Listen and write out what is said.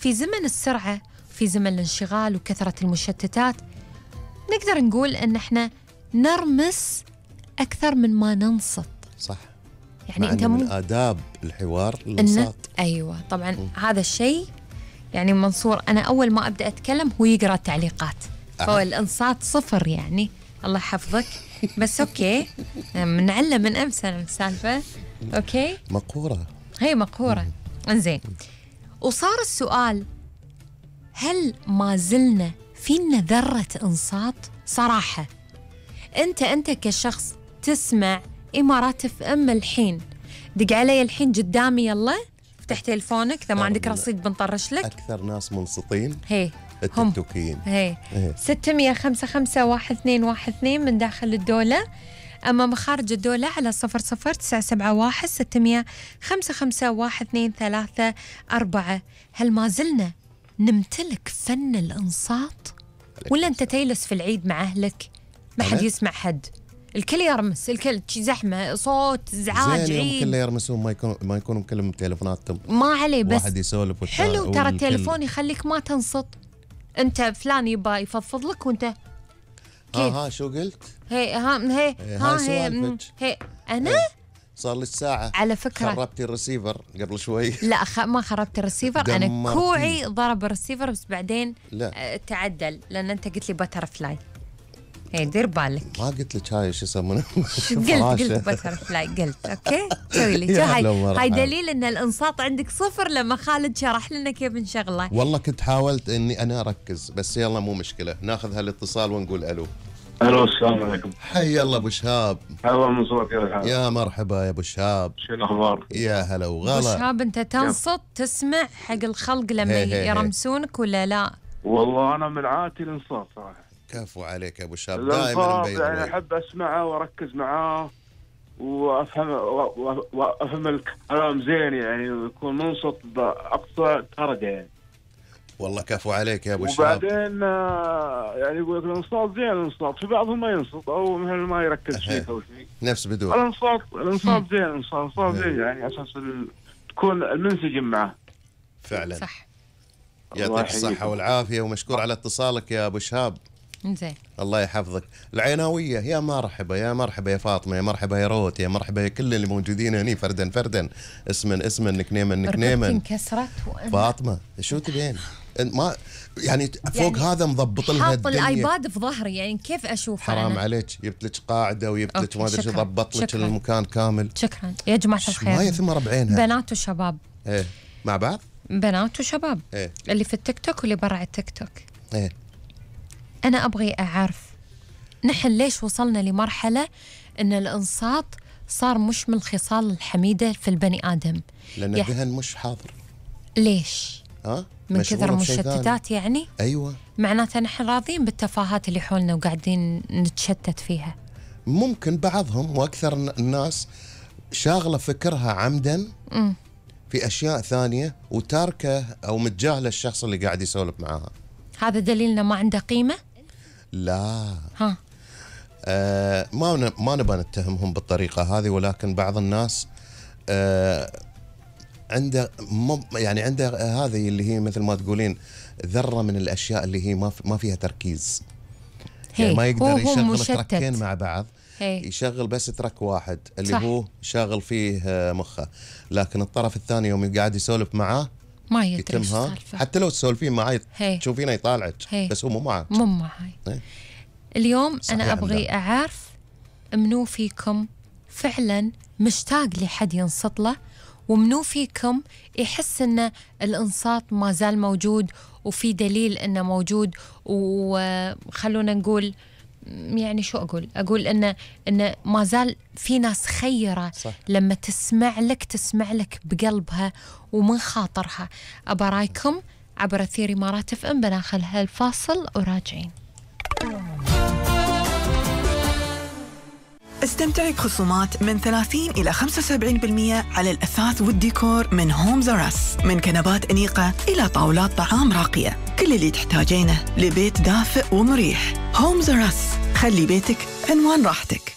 في زمن السرعة، في زمن الانشغال وكثرة المشتتات، نقدر نقول أن احنا نرمس أكثر من ما ننصت. صح. يعني أنت من آداب الحوار الانصات. أيوة طبعا. هذا الشيء يعني منصور أنا أول ما أبدأ أتكلم هو يقرأ التعليقات. فهو الانصات صفر يعني. الله يحفظك. بس أوكي منعلم من أمس السالفة. أوكي مقهورة، هي مقهورة. انزين، وصار السؤال هل ما زلنا فينا ذرة انصات؟ صراحة أنت كشخص تسمع إمارات اف ام الحين، دق علي الحين قدامي، يلا افتح تلفونك إذا ما عندك رصيد بنطرش لك. أكثر ناس منصتين هي التيكتوكيين. هي 655-5212 من داخل الدولة، أما مخارج الدولة على 00971-655-1234. هل ما زلنا نمتلك فن الإنصات؟ ولا أنت تيلس في العيد مع أهلك ما حد يسمع حد، الكل يرمس، الكل زحمة، صوت، إزعاج، عيد، كله يرمسون، ما يكونوا مكلم تليفوناتهم، ما عليه، بس واحد يسولف حلو ترى التليفون يخليك ما تنصت. أنت فلان يبا يفضفض لك وأنت ها شو قلت؟ هي أنا صار لي ساعة على فكرة خربتي الرسيفر قبل شوي. لا ما خربت الرسيفر، أنا كوعي ضرب الرسيفر بس بعدين تعدل لأن أنت قلت لي بتر فلاي. هي دير بالك، ما قلت لك هاي شو يسمونه. قلت بتر فلاي، قلت أوكي سوي لي هاي دليل أن الإنصات عندك صفر لما خالد شرح لنا كيف نشغله. والله كنت حاولت إني أنا أركز بس يلا مو مشكلة، ناخذ هالاتصال ونقول ألو. الو السلام عليكم. حي الله ابو شهاب. هلا منصور، كيف الحال؟ يا مرحبا يا ابو شهاب، شو الاخبار؟ يا هلا وغلا. ابو شهاب انت تنصت تسمع حق الخلق لما يرمسونك ولا لا؟ والله انا من عادتي الانصات صراحه. كفو عليك يا ابو شهاب، دائما مبين يعني احب اسمعه واركز معاه وافهم الكلام زين، يعني يكون منصت باقصى درجه يعني. والله كفو عليك يا ابو شهاب. وبعدين يعني يقول لك الانصات زين، الانصات في بعضهم ما ينصت او ما يركز فيك او شيء. نفس بدون الانصات زين، الانصات زين يعني اساس تكون المنسجم معه. فعلا صح. يعطيك الصحة والعافية ومشكور على اتصالك يا ابو شهاب. زين الله يحفظك. العيناوية يا مرحبا، يا مرحبا يا فاطمة، يا مرحبا يا روت، يا مرحبا يا كل اللي موجودين هني فردا اسما نكنيما انكسرت فاطمة شو تبين؟ ما يعني فوق يعني هذا مضبط لها حاط الايباد في ظهري، يعني كيف اشوف؟ حرام عليك، جبت لك قاعده وجبت لك ما ادري شو، ضبط لك المكان كامل. شكرا يا جماعه الخير. ما يثمر بعينها. بنات وشباب مع بعض، بنات وشباب اللي في التيك توك واللي برا التيك توك. انا ابغي اعرف نحن ليش وصلنا لمرحله ان الانصات صار مش من الخصال الحميده في البني ادم؟ لان الذهن مش حاضر. ليش؟ من كثر المشتتات يعني؟ ايوه، معناتها نحن راضين بالتفاهات اللي حولنا وقاعدين نتشتت فيها. ممكن بعضهم واكثر الناس شاغله فكرها عمدا في اشياء ثانيه وتاركه او متجاهله الشخص اللي قاعد يسولف معاها. هذا دليلنا ما عنده قيمه؟ لا ما نبغى نتهمهم بالطريقه هذه، ولكن بعض الناس عنده هذه اللي هي مثل ما تقولين ذره من الاشياء اللي هي ما فيها تركيز. يعني ما يقدر يشغل تركين مع بعض، يشغل بس ترك واحد اللي صح. هو شاغل فيه مخه، لكن الطرف الثاني يوم قاعد يسولف معاه ما يدري حتى لو تسولفين معاه تشوفينه يطالعك بس هو مو معك. مو معي. اليوم انا ابغي اعرف منو فيكم فعلا مشتاق لحد ينصت له، ومنو فيكم يحس ان الانصات ما زال موجود وفي دليل انه موجود. وخلونا نقول يعني شو اقول ان ما زال في ناس خيره صح. لما تسمع لك بقلبها ومن خاطرها. ابى رايكم عبر أثير إمارات اف ام. بناخذ هالفاصل وراجعين. استمتعي بخصومات من 30 إلى 75% على الأثاث والديكور من هومز أراس، من كنبات أنيقة إلى طاولات طعام راقية، كل اللي تحتاجينه لبيت دافئ ومريح. هومز أراس، خلي بيتك عنوان راحتك.